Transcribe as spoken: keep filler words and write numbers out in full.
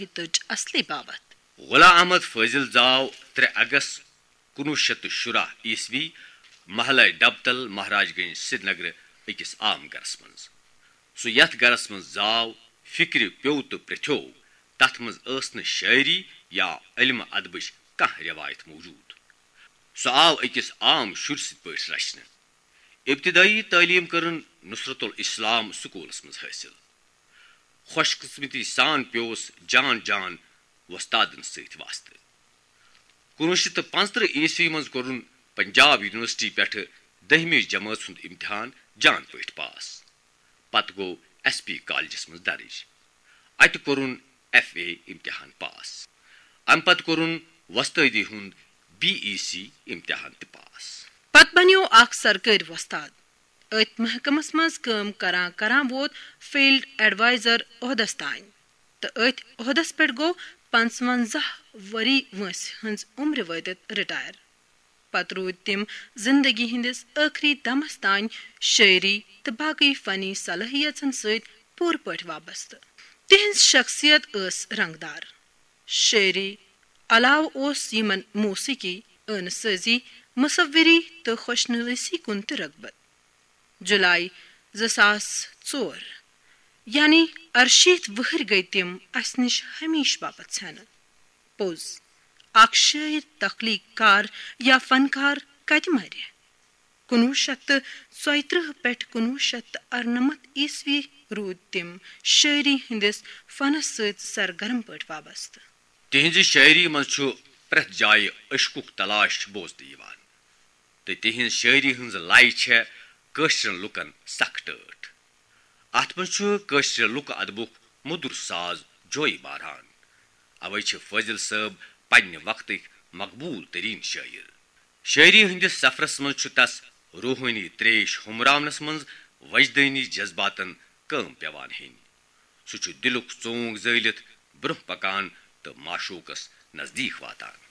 ہتٕچ اصلی باوتھ۔ غلام احمد فاضل زاو ترٛےٚ اگست کُنوُہ شیٚتھ تہٕ شُراہ عیسوی محلہ ڈبتل، مہاراج گنج، سرینگرٕ، أکِس عام گرس منٛز۔ سُہ یتھ گرس منٛز زاو، فکرِ پیوٚو تہٕ پرٛژھیوو، تتھ منٛز ٲس نہٕ شٲعری یا علم ادبٕچ کانٛہہ رٮ۪وایت موجود۔ سُہ آو أکِس عام شُرۍ سٕنٛدۍ پٲٹھۍ رچھنہٕ۔ ابتدٲیی تعلیٖم کٔرٕن نصرت الاسلام سکوٗلس منٛز حٲصِل۔ خۄش قٕسمتی سان پیوس جان جان وۄستادن سۭتۍ واسطہٕ۔ کُنوُہ شیٚتھ تہٕ پانٛژترٕہ عیسوی منٛز کوٚرُن پنجاب یونیورسٹی پٮ۪ٹھٕ دٔہمہِ جمٲژ ہُنٛد امتحان جان پٲٹھۍ پاس۔ پتہٕ گوٚو ایس پی کالجس منٛز درٕج۔ اتہِ کوٚرُن ایف اے امتحان پاس۔ امہِ پتہٕ کوٚرُن وۄستٲدی ہُنٛد بی ای سی امتحان تہِ پاس۔ پتہٕ بنیوو اکھ سرکٲرۍ وۄستاد۔ أتھۍ محکمس منٛز کٲم کران کران ووت فیلڈ ایڈوائزر عہدس تام، تہٕ أتھۍ عہدس پٮ۪ٹھ گوٚو پنٛژونٛزاہ ؤری وٲنٛسہِ ہٕنٛز عمرِ وٲتِتھ رٹائر۔ پتہٕ روٗدۍ تِم زندگی ہٕنٛدِس ٲخری دمس تام شٲعری تہٕ باقٕے فنی صلٲحیژن سۭتۍ پوٗرٕ پٲٹھۍ وابستہٕ۔ تِہنٛز شخصیت ٲس رنگدار۔ شٲعری علاوٕ اوس یِمن موسیقی، ٲنہٕ سٲزی، مصوری تہٕ خوش نویسی کُن تہِ رغبت۔ جولائی زٕ ساس ژور، یعنی ارشیٖتھ وُہٕرۍ گٔیۍ تِم اسہِ نِش ہمیشہٕ باپتھ ژھٮ۪نہٕ۔ پوٚز، اکھ شٲعر، تخلیق کار یا فنکار کتہِ مرِ؟ کُنوُہ شیٚتھ تہٕ ژۄیترٕہ پٮ۪ٹھ کُنوُہ شیٚتھ تہٕ ارنمتھ عیسوی روٗدۍ تِم شٲعری ہٕنٛدِس فنس سۭتۍ سرگرم پٲٹھۍ وابستہٕ۔ تِہنٛزِ شٲعری منٛز چھُ پرٛٮ۪تھ جایہِ عشقُک تلاش بوزنہٕ یِوان، تہٕ تِہنٛز شٲعری ہٕنٛز لَے چھےٚ کٲشرٮ۪ن لوٗکن سخ ٹٲٹھ۔ اَتھ منٛز چھُ کٲشرِ لوٗکہٕ ادبُک مٔدُر ساز جوے باران۔ اَوَے چھِ فٲضل صٲب پننہِ وقتٕکۍ مقبوٗل تریٖن شٲعر۔ شٲعری ہٕنٛدِس سفرس منٛز چھُ تس روحٲنی تریش ہُمراونس منٛز وجدٲنی جذباتن کٲم پٮ۪وان ہیٚنۍ۔ سُہ چھُ دِلُک ژونگ زٲلِتھ برٛونٛہہ پکان تہٕ معشوقس نزدیٖک واتان۔